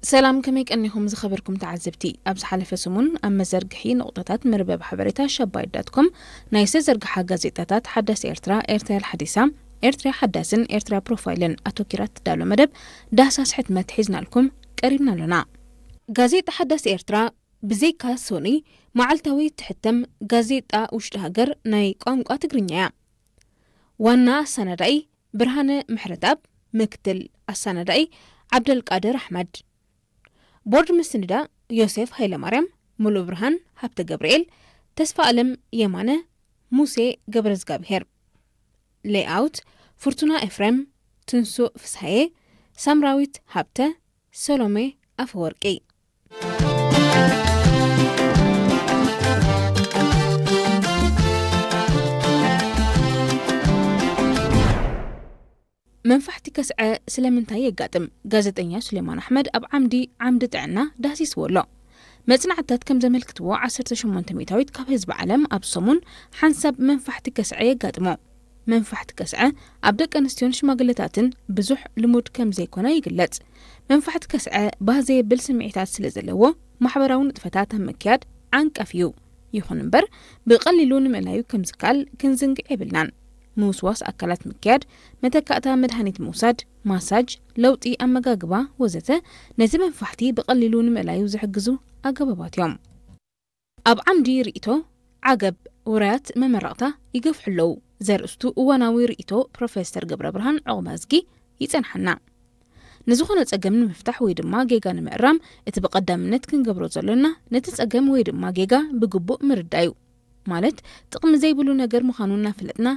ሰላም፣ ከመይ ቀኒኹም ዝኸበርኩም ተዓዘብቲ? ኣብ ዝሓለፈ ሰሙን ኣብ መዘርግሒ ንቑጣታት መርበብ ሓበሬታ ሸባይት ዳት ኮም ናይ ዝተዘርግሓ ጋዜጣታት ሓዳስ ኤርትራ፣ ኤርትራ ሓዲሳ፣ ኤርትራ ሓዳስን ኤርትራ ፕሮፋይልን ኣተኪራ ትዳሎ መደብ ዳህሳስ ሕትመት ሒዝናልኩም ቀሪብና ኣሎና። ጋዜጣ ሓዳስ ኤርትራ ብዘይካ ሶኒ መዓልታዊ ትሕተም ጋዜጣ ውሽጢ ሃገር ናይ ቋንቋ ትግርኛ እያ። ዋና ኣሰናዳኢ ብርሃነ ምሕረትኣብ፣ ምክትል ኣሰናዳኢ ዓብደልቃድር ኣሕመድ፣ ቦርድ ምስንዳ ዮሴፍ ሃይለማርያም፣ ሙሉ ብርሃን ሃብተ ገብርኤል፣ ተስፋ ኣለም የማነ፣ ሙሴ ገብረዝጋብሄር፣ ሌይኣውት ፍርቱና ኤፍሬም፣ ትንሱእ ፍስሃየ፣ ሳምራዊት ሃብተ፣ ሰሎሜ ኣፈወርቂ። መንፋሕቲ ከስዐ ስለምንታይ የጋጥም? ጋዜጠኛ ሱሌማን ኣሕመድ ኣብ ዓምዲ ዓምዲ ጥዕና ዳህሲስዎ ኣሎ። መጽናዕትታት ከም ዘመልክትዎ ዓሰርተ ሸሞንተ ሚእታዊት ካብ ህዝቢ ዓለም ኣብ ሰሙን ሓንሳብ መንፋሕቲ ከስዐ የጋጥሞ። መንፋሕቲ ከስዐ ኣብ ደቂ ኣንስትዮን ሽማግለታትን ብዙሕ ልሙድ ከም ዘይኮነ ይግለጽ። መንፋሕቲ ከስዐ ባህ ዘየብል ስምዒታት ስለ ዘለዎ ማሕበራዊ ንጥፈታት ኣብ ምክያድ ዓንቀፍ እዩ። ይኹን እምበር ብቐሊሉ ንምእላዩ ከም ዝከኣል ክንዝንግዕ የብልናን። ምውስዋስ ኣካላት ምክያድ፣ መተካእታ መድሃኒት ምውሳድ፣ ማሳጅ፣ ለውጢ ኣመጋግባ ወዘተ ነዚ መንፋሕቲ ብቐሊሉ ንምእላዩ ዝሕግዙ ኣገባባት እዮም። ኣብ ዓምዲ ርእይቶ ዓገብ ውራያት መመረቕታ ይገፍሑ ኣለዉ ዘርእስቱ እዋናዊ ርእይቶ ፕሮፌሰር ገብረ ብርሃን ዑቕባዝጊ ይጸንሓና። ንዝኾነ ጸገም ንምፍታሕ ወይ ድማ ጌጋ ንምእራም እቲ ብቐዳምነት ክንገብሮ ዘሎና ነቲ ጸገም ወይ ድማ ጌጋ ብግቡእ ምርዳእ እዩ። ማለት ጥቕሚ ዘይብሉ ነገር ምዃኑ እናፈለጥና